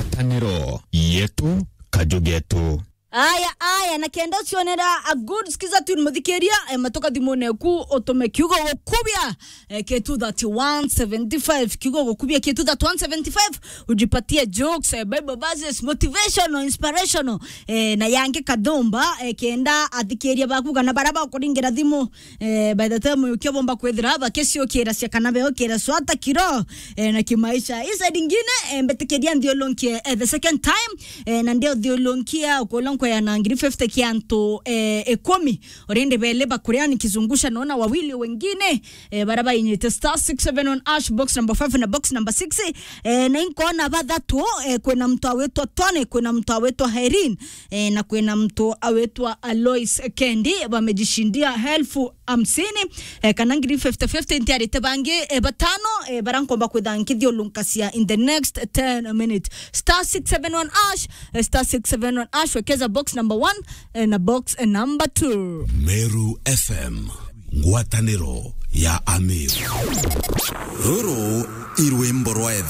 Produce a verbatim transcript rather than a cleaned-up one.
Ngwataniro yetu, kaju getu. Aya, aya, na kenda ucionera a good skiza tune muthikiria, eh, matuka thimune ku utume kiugo gukubia, eh, K two thirty-one seventy-five, kiugo gukubia K two thirty-one seventy-five, ujipatie jokes, eh, Bible verses, motivational, inspirational, eh, na yangi kadumba, eh, kenda athikiria baku kana bara bakuringira thimu, eh, by the time ukiobomba kwithira bakiciukira cia kana beokira swata kiro, eh, na kimaisha. Isa dingine, eh, mbetikiria nthiulunkie, eh, the second time, eh, na ndio thiulunkia ukulonko ya na ngiri fifty kia antu, eh, ikumi. Already bele bakuria nikizungusha naona wawili wengine, eh, bara bainyite star six seven one hash box number five na box number six, eh, na inkona bathatu, eh, kwina mtu awitwa Tony, kwina mtu awitwa Irene, eh, na kwina mtu awitwa Alois Kendi, bamejishindia elfu hamsini, eh, kana ngiri fifty fifty, ntiarite bangi, eh, batano, eh, bara nkomba kwitha nkithiulunkacia in the next ten minutes. Star six seven one hash, eh, star six seven one hash, wekeza box number one, eh, na box, eh, number two. Meru F M, ngwataniro ya Ameru. Ruru i rwimbo rwa